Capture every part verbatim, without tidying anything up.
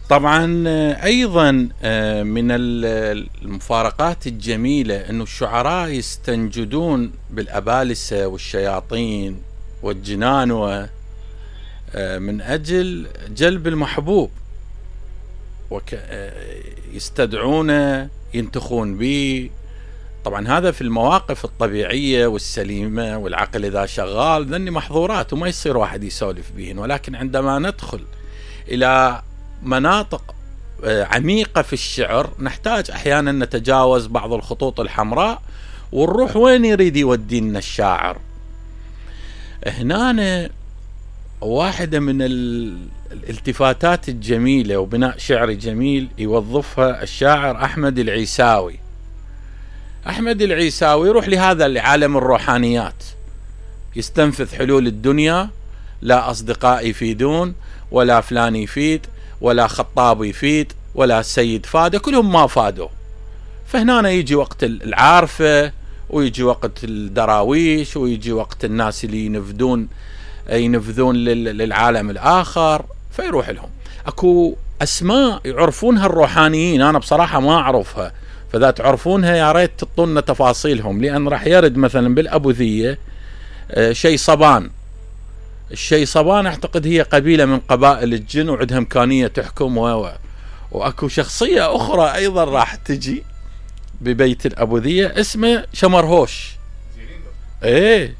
طبعا ايضا من المفارقات الجميلة انه الشعراء يستنجدون بالابالسة والشياطين والجنانوة من اجل جلب المحبوب، ويستدعونه ينتخون به. طبعا هذا في المواقف الطبيعية والسليمة والعقل اذا شغال ذني محظورات وما يصير واحد يسولف بهن، ولكن عندما ندخل الى مناطق عميقة في الشعر نحتاج احيانا نتجاوز بعض الخطوط الحمراء ونروح وين يريد يودينا الشاعر. هنا واحدة من الالتفاتات الجميلة وبناء شعري جميل يوظفها الشاعر أحمد العيساوي. أحمد العيساوي يروح لهذا العالم الروحانيات، يستنفذ حلول الدنيا، لا أصدقاء يفيدون ولا فلان يفيد ولا خطاب يفيد ولا سيد فاده، كلهم ما فادوا. فهنا يجي وقت العارفة ويجي وقت الدراويش ويجي وقت الناس اللي ينفذون ينفذون للعالم الآخر فيروح لهم. أكو أسماء يعرفونها الروحانيين، أنا بصراحة ما أعرفها، فإذا تعرفونها يا ريت تعطونا تفاصيلهم، لأن راح يرد مثلا بالأبوذية شي صبان. الشي صبان أعتقد هي قبيلة من قبائل الجن وعندها إمكانية تحكم، و... وأكو شخصية أخرى أيضا راح تجي ببيت الأبوذية اسمه شمرهوش. إيه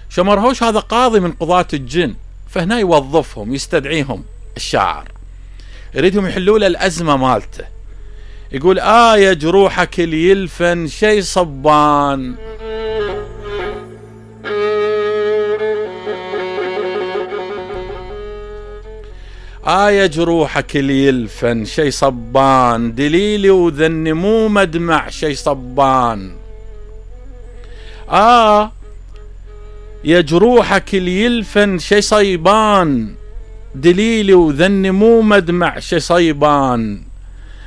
شمرهوش هذا قاضي من قضاة الجن، فهنا يوظفهم يستدعيهم الشاعر يريدهم يحلوا له الأزمة مالته. يقول آه يا جروحك اللي يلفن شي صبان، آه يا جروحك اللي يلفن شي صبان، دليلي وذني مو مدمع شي صبان. آه يا جروحك اللي يلفن شي صيبان، دليلي وذني مو مدمع شي صيبان.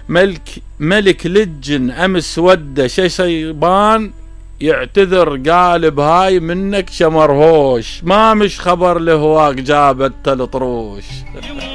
ملك ملك لجن أمس وده شي صيبان، يعتذر قال بهاي منك شمرهوش، ما مش خبر لهواك جابت الطروش.